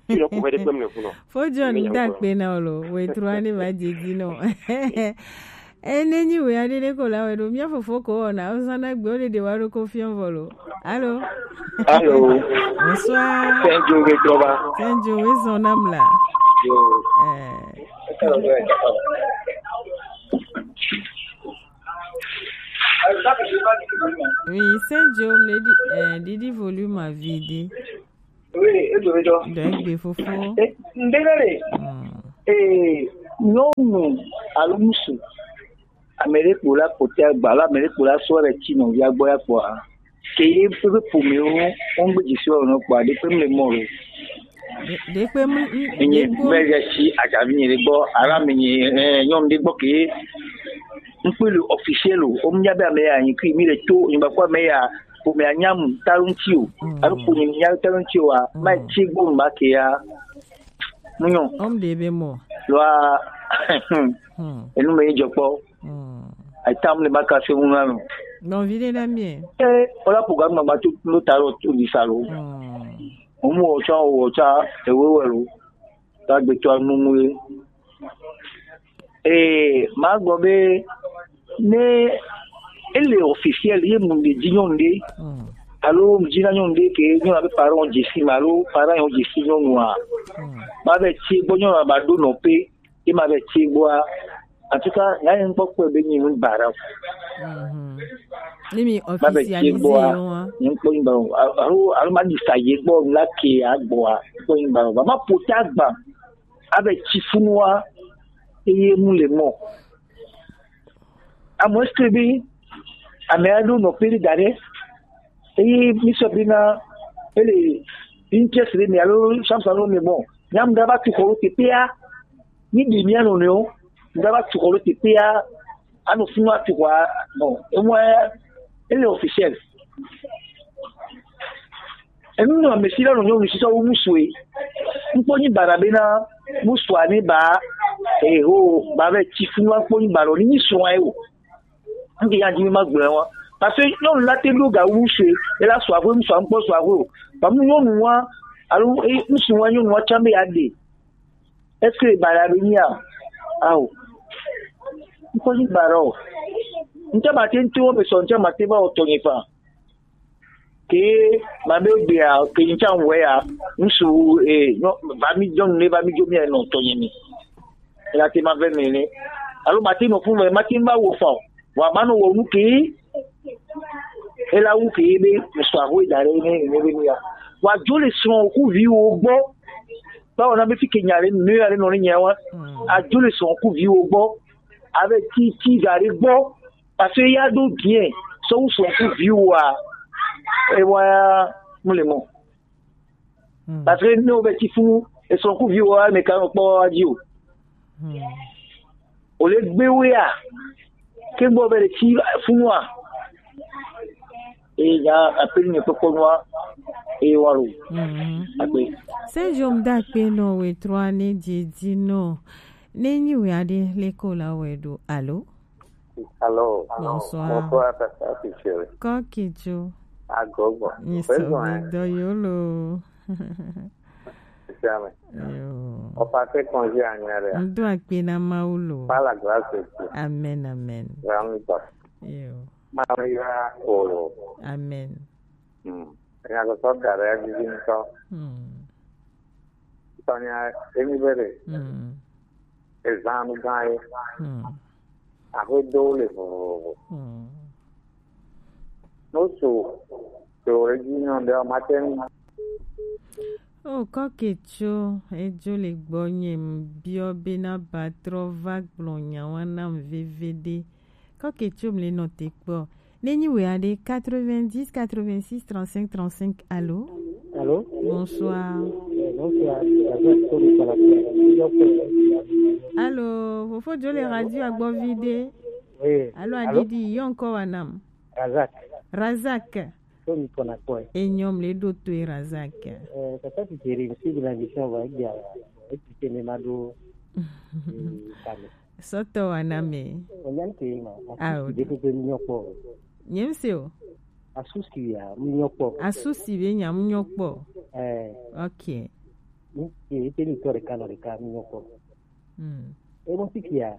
Ti no ku vede kpem ne fu no. Fo John da kpe na olo, we trɔ ne va didi no. Ene nyi we ade de ko la we do, mia fofo ko na, o sana gbe o de de wa do ko fion volo. Allô? Allô? Bonsoir. Senjo we trɔ va. Senjo we son nam la. Eh. Oui, c'est Joe, me dit, eh, Didi volume à vider. Oui, et je vais donc. Donc, il faut, faut. Eh, ndegare. Hmm. Eh, non, non. Alors, monsieur. Ame ɖe kpo la kpɔtɔa gba alo ame ɖe kpo la sɔ ɖe tsi nɔvia gbɔ ya kpɔa, ke ye ƒe ƒomewo wo ŋgbe dzi sɔ nɔ kpɔa, ɖe ƒe mle mɔ lo. Ɖe-, ɖe ƒe mle, m-, enye ɖe ƒe mle ya si adzavi nye ɖe gbɔ, alo ame nye, eh, nyɔnu ɖe gbɔ ke ŋkpe le officiel o, wo nya be ame ya nyi kui, mi le to, nyigba kɔ ame ya, ƒomea nya mu, ta lo ŋuti o, mm, alo ƒo nye nya ta lo ŋuti o, a, mm, ma tsi gbɔ nu ma ke ya, mu nyɔ. Om ɖe be mɔ. Loa, hmm, enu me yi dzɔ kpɔ. Hmm. Atam le maka se mu na no. Non, vide na mie. Eh, ola program ma ma tu lo ta lo tu di sa lo. Hmm. Omo o cha o cha e we we lo. Ta gbe to anu mu e. Eh, ma gbɔ be ne ele officiel ye mu de di nyɔnu de. Hmm. Alo mu di na nyɔnu de ke nyɔnu abe parent dze si ma alo parent yɔ dze si nyɔnua. Hmm. Ma be tsi gbɔ nyɔnu ba do nɔ pe. Ye ma be tsi gbɔa, en tout cas, nya ye ŋkpɔ kpɔe be nyi nu baɖa o. Mhm. Ne mi ma be tsi officialisé gbɔa, yo wa. Nye ŋkpɔ nyi baɖa o. Alo, alo ma di sa ye gbɔ la ke agbɔa, ŋkpɔ nyi baɖa o. Ba ma ƒo ta gba, abe tsi funua, eye mu le mɔ. Amo est-ce que be, ame aɖewo nɔ kpe ɖe da ɖe, eye mi sɔ be na, ele interest ɖe me alo samsa ɖe me bɔ, nyam da va tu xɔ ɖe teƒea, mi ɖi mia nɔnɔewo, da va tu xɔ ɖe teƒea, anɔ funu atu xɔa, bon, emɔa, ele officiel. Enu nɔ ame si la nɔ nyɔnu si sɔ wu musue. Ŋkpɔ nyi baɖa bena musua ne ba, eh, ho, ba be tsi funu akpɔ nyi baɖa ni nyi srɔ̃a ye o. Ŋke ya dzi ma gblɔ wa. Parce que nyɔnu la te ɖo ga wu musue, ela sua ƒe musua ŋkpɔ sua ƒe o. Ba mu nyɔnu wa, alo, eh, musu wa nyɔnu wa tsã be ya ɖe. Est-ce que baɖa be nyia? Ao. Ŋkpɔ nyi baɖa o. Ŋtsɛ ma te ŋti wo me sɔ, ŋtsɛ ma te va wɔ tɔnye fa. Ke ma be gbea, ke ŋtsɛ ŋwɛ ya, ŋsu, eh, nyɔ-, va mi dzɔ nu ne va mi dzo mi nɔ tɔnye mi. Ela te ma ve mi ne. Alo ma te nɔ fun ve, ma te va wɔ fa o. Wa ma nɔ wɔ nu ke. Ela wu ke be ŋsu ahoe da ɖe ne, ne be mi ya. Wa dzo le srɔ̃ ku vi wo gbɔ. Báwo na be fi ke nya ɖe, nu ya ɖe nɔ ne nya wa. Mm. Adzo le srɔ̃ ku vi wo gbɔ. Abe ti, ti da ɖe gbɔ. Parce que ya ɖo bien, sɔ wu srɔ̃ ku vi wo a, e wa ya mu le mɔ. Hmm. Parce que ne wo be ti funu, e srɔ̃ ku vi wo a, me ka nɔ kpɔ wa dzi o. Hmm. O le gbe wo ya, ke gbɔ be le ti funu a. E ya apeli ne kpɔkpɔ nua, e wa lo. Hmm. Akpe. Se jom da kpe no we trois ne dzi dzi no. Ne nyi we aɖe le ko la we do. Alo? Allô. Bonsoir. Bonsoir, Tata Fichel. Kɔkitso. Agogo. Ni sɔgbe dɔ yolo. Isiame. Yo. Opa te congé anyare. Ŋdo akpe na Mawu lo. Par la grâce de Dieu. Amen, amen. Rami ba. Yo. Maria oro. Amen. Hmm. Enya gbetɔ da ɖe edzi ŋutɔ. Hmm. Tɔnya emi be ɖe. Hmm. Ezã nu gã ye. Hmm. Aƒe do le vovovo. Hmm. No so to ɖe dzi nyɔ ɖe ma te ŋu. O kɔke tso edzo le gbɔ nye biɔ be na ba trɔ va gblɔ nyawa nam veveɖe. Kɔke tso mle nɔ te kpɔ. Ne nyi we aɖe quatre-vingt-dix, quatre-vingt-six, trente-cinq, trente-cinq. Allô? Allô? Bonsoir. Eh, bonsoir. Allô, fofo dzo le radio agbɔ vi ɖe. Oui. Allô, allô? Adidi, yɔ ŋkɔ wa nam. Razak. Razak. Ko mi kɔna kɔe. Enyɔm le ɖo toe Razak. Eh, tata ti jere, mi si de la mission va, egbea, eti te ne ma ɖo, eh, kame. Sɔtɔ wa na me. Onyan ke ma. Ao. Asusi ɖe kpekpe mi nyɔ kpɔ. Nye mi se o. Asusi ya, mi nyɔ kpɔ. Asusi be nya mi nyɔ kpɔ. Eh. Ok. Mi ke, ete mi tɔ ɖeka nɔ ɖeka mi nyɔ kpɔ. Hmm. E mo si kia.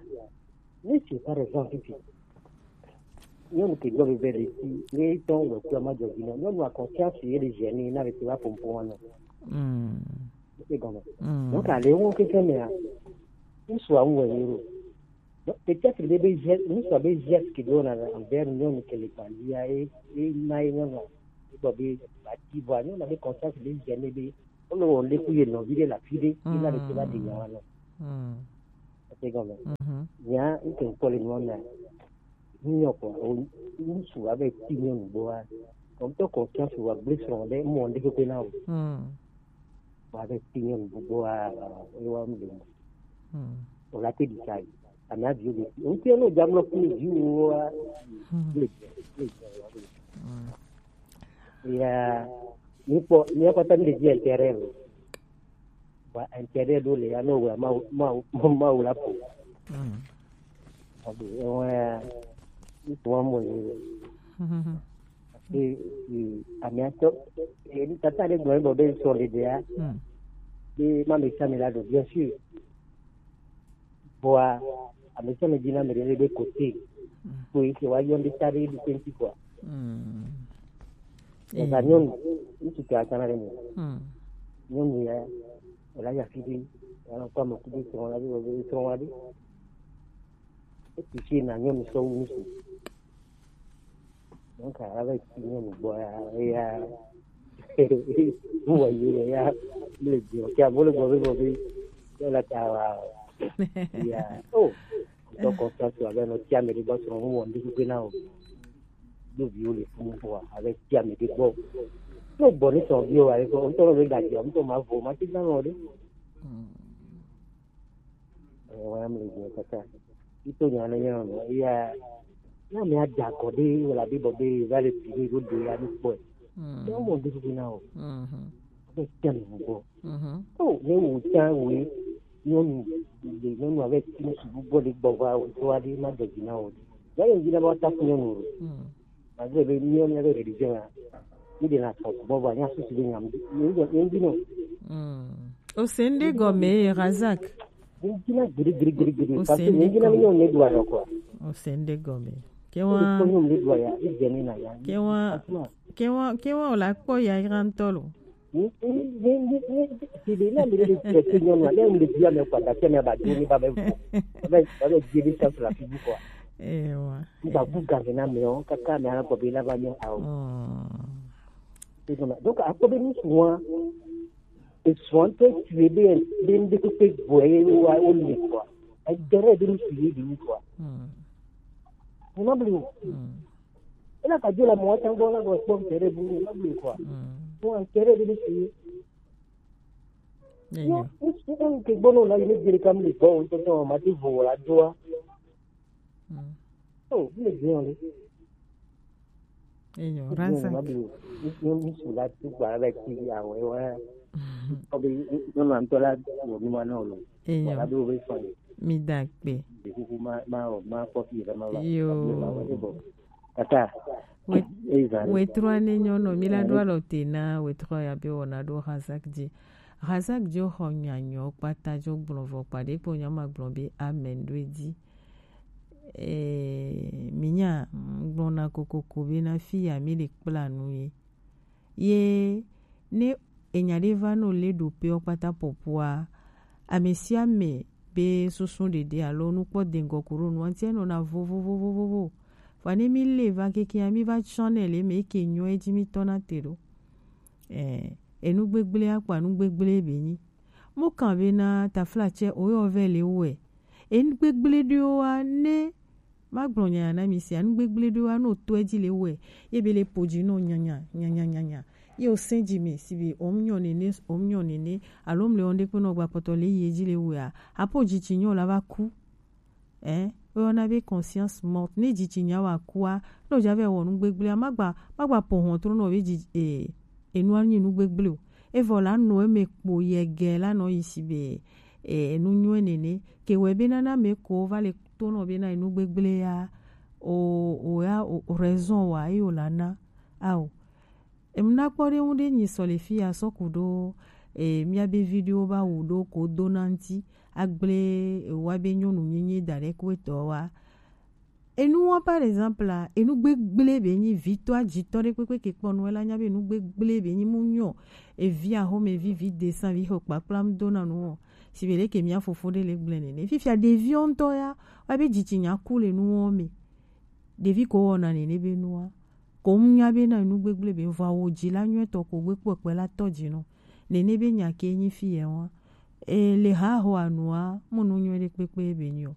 Mi si par exemple fi. Nyɔnu ke gbɔ be be le si, ne tɔn wɔ kua ma jɔ bi nɔ. Nyɔnu a conscience ye le gêner na le ti wa pompon wa nɔ. Hmm. Egɔme. Donc, ale wo keke mea, ŋutsua ŋu wɔ ye ɖo. Donc, peut-être be be geste, ŋutsua be geste ke do na envers nyɔnu ke le gbalia, e, e na ye nyɔnua, e gbɔ be ba ti vɔa, nyɔnua be conscience be gêné be, o le wɔ le ku ye nɔvi ɖe le afi ɖe, e na le ke va ɖe nya wa nɔ. Egɔme. Nya, ŋke ŋkpɔ le nua mea, Nyɔ kɔ, o, ŋutsu ava ti nyɔnu gbɔa, kɔmtɔ conscience wa gblẽ srɔ̃ ɖe mɔ ɖe kpekpe na o. Wa ava ti nyɔnu gbɔa, ewa mu ɖe mɔ. O la te di sa yi. Ame aviwo be, o ti no jamlɔ kple viwo wa. Le, le, le, le. Ya, mi kpɔ, mi kpɔ ta mi le di intérêt o. Ba intérêt ɖo le ya no wa ma, ma, ma, ma wula po. Abe, ewa, ŋutsu wa mo ye. E, e, ame atɔ, e, tata ɖe gblɔ egbe be sɔ le ɖea, be ma me sa me la ɖo, bien sûr. Vɔa, ame sia ame dina me ɖe be kote. Ko yi ke wa yɔ ŋɖe ta ɖe ɖo twenty kɔa. Ega nyɔnu, ŋutsu ke atana ɖe me. Nyɔnu ya, ela ya fi ɖe, ela kɔ ame kudo srɔ̃ la ɖe, srɔ̃ la ɖe. Eti si na nyɔnu sɔ wu ŋutsu. Donc, ava ti nyɔnu gbɔ ya, eya, wɔ yi le ya, le gbɔ, ke abo le gbɔ be, gbɔ be, ke la ta wa, ya, oh, ŋutɔ kɔ fia tu abe nɔ tia me ɖe gbɔ srɔ̃ ŋu wɔ ŋɖe kpekpe na o. Do viwo le funu kɔa, abe tia me ɖe gbɔ. Ne gbɔ ne srɔ̃ viwo wa, ŋutɔ be gaji, ŋutɔ ma vo, ma ti gã nɔ ɖe. Ewa mi le gbɔ kaka. Ito nya ne nya no, ya, ya mi ada kɔ ɖe, wala bi bɔ be, va le pi ɖe, ɖo ɖe ya ni kpɔe. Ne mo ŋɖe kpekpe na o. Be tia me gbɔ. O, ne wo ta wo, nyɔnu, le nyɔnu avec une subu bɔ de gbɔ va o, to adi ma de dina o. Ya ye dina ba ta ku nyɔnu o. Malgré be nyɔnu avec religion ya. Mi de na sɔ gbɔ va nya susu de nya mi. Ni de ni de no. O se ŋɖe gɔme ye, Razak. Ni dina giri giri giri giri. O se ŋɖe gɔme. O se ŋɖe gɔme. Ke wa, ke wa, ke wa, ke wa o la kpɔ ya ira ŋutɔ lo. Ewa. Ba bu ga na me o, kaka me ana kɔ be la ba nyɔ awo. Donc, akpɔ be ŋutsu wa, esrɔ̃ ŋutɔ tue be, be ŋɖe kpekpe gbɔe wa wo le kɔa. Edere be ŋutsu ye ɖe ŋutsu wa. Ena bli o. Ena ka dzo la mɔ tsa gbɔ la gbɔ kpɔ ŋutɔ ɖe bu, ena bli kɔa. Bon, ŋutɔ ɖe be ŋutsu ye. Yo, ŋutsu ke gbɔ no la yi ne dze ɖeka mi le gbɔ o, ŋutɔ tɔ ma te vo la doa. Oh, mi le dze o le. Enyo, Razak. Ŋutsu la tu gba la ti ya wɛ wɛ. Obi, nyɔnu ŋutɔ la wɔ mi ma na o lo. Enyo. Wala do be fɔ. Mi da kpe. De kuku ma, ma, ma kɔ fi ma ba. Yo. Ma wɛ de bɔ. Kaka. Wet-, wetru ne nyɔnu, mi la do alɔ te na wetru ya be wɔna do Razak dzi. Razak dzi xɔ nya nyɔ kpata dzo gblɔ vɔ kpa ɖe kpo nya ma gblɔ be amen do edzi. Eh, mi nya, gblɔ na kokoko be na fi ya mi le kpla nu ye. Ye ne enya ɖe va nɔ le ɖo pe ɔ kpata pɔpua, ame sia ame be susu ɖeɖe alo nukpɔ dengɔ kuro nua ŋuti enɔna vovovovovovo. Vɔ ne mi le va keke ya mi va tsɔ ne le me ke nyɔ edzi mi tɔ na te ɖo. Eh, enu gbegblẽ akpa nu gbegblẽ be nyi. Mo kan be na taflatsɛ o yɔ vɛ le wɛ. Enu gbegblẽ ɖewo wa ne ma gblɔ nya na mi sia, nu gbegblẽ ɖewo wa no to edzi le wɛ. Ye be le po dzi no nyanya, nyanya, nyanya. Ye o sɛn dzi me si be o nyɔ nene, o nyɔ nene. Alo mle o nde kpe no gba kpɔtɔ le ye dzi le wɛ a. Apo dzi tsi nyɔ la va ku. Eh, woyɔna be conscience morte. Ne dzitsinya wa kua, ne wòdza va wɔ nu gbegblẽa, magba, magba ƒo hlɔ̃ trɔ nɔ be dzi, eh, enua nyi nu gbegblẽ o. Evɔ la nɔ eme kpo yɛ gɛ la nɔ yi si be, eh, enu nyuie nene. Ke wɛ be nana me ko va le to nɔ be na enu gbegblẽa, o, o ya, o, o raison wa, eyo la na. Ao. Em, nakpɔ ɖe ŋu ɖe nyi sɔ le fi ya sɔ ku ɖo, e, mía be vi ɖewo va wu ɖo ko do na ŋuti. Agble ewa be nyɔnu nyenye da ɖe kuetɔ wa. Enu wa, par exemple, a, enu gbegble be nyi vitɔ ajitɔ ɖe kpekpe ke kpɔ nu, ela nya be enu gbegble be nyi mu nyɔ evi ahome vi vi desan vi xɔ kpakpla mu dona nu o. Si be ɖe ke mia fofo ɖe le gblẽ nene. Fifia ɖeviwo ŋutɔ ya, wa be dzitsi nya ku le nuwo me. Ɖevi ko wɔna nene be nua. Ko mu nya be na enu gbegble be vɔ wo dzi la nyuie tɔ ko gbe kpɔkpɛ la tɔ dzi no. Nene be nya ke nyi fi ye wa. E le ha ho anua, mu nu nyuie ɖe kpekpe be nyi o.